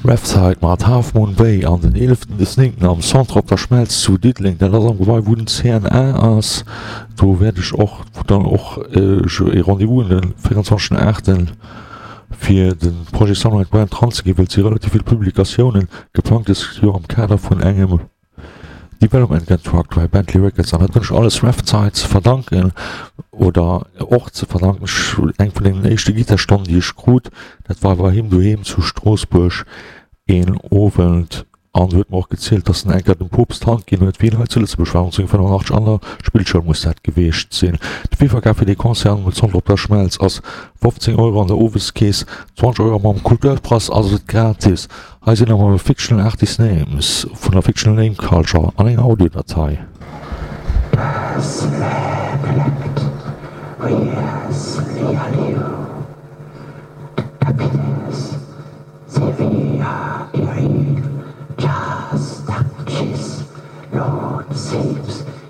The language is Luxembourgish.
Revside mat Half Moon Bay an den 11 des 9 am Centre Op der Schmelz zu Diddeleng, dat ass am Gebai wou den CNA ass. Do wäert ech och, wou dann och ech e Rendez-vous hunn den 24 8 fir de Projet Sunlight Brand eranzeginn, well et si relativ vill Publikatiounen geplangt dëst Joer am Kader vun engem Development Contract bei Bentley Records an dat hunn ech alles Revside ze verdanken oder och ze verdanken. Ech eng vun deenen éischte Gittarstonnen déi ech krut, dat war bei him doheem zu Stroossbuerg een Owend an huet mer och gezielt, dass en eng Kéier dem Poopst d'Hand ginn huet, wéi en hei zu Lëtzebuerg war, 1985 an der Spillschoul muss dat geweecht sinn. De Virverkaf fir dee Concert am Centre Op der Schmelz ass 15 Euro an der Oweskeess, 20 Euro mam Kulturpass ass et gratis. Hei sinn awer Fictional Artist Names vun der Fictional Name Culture an enger Audiodatei.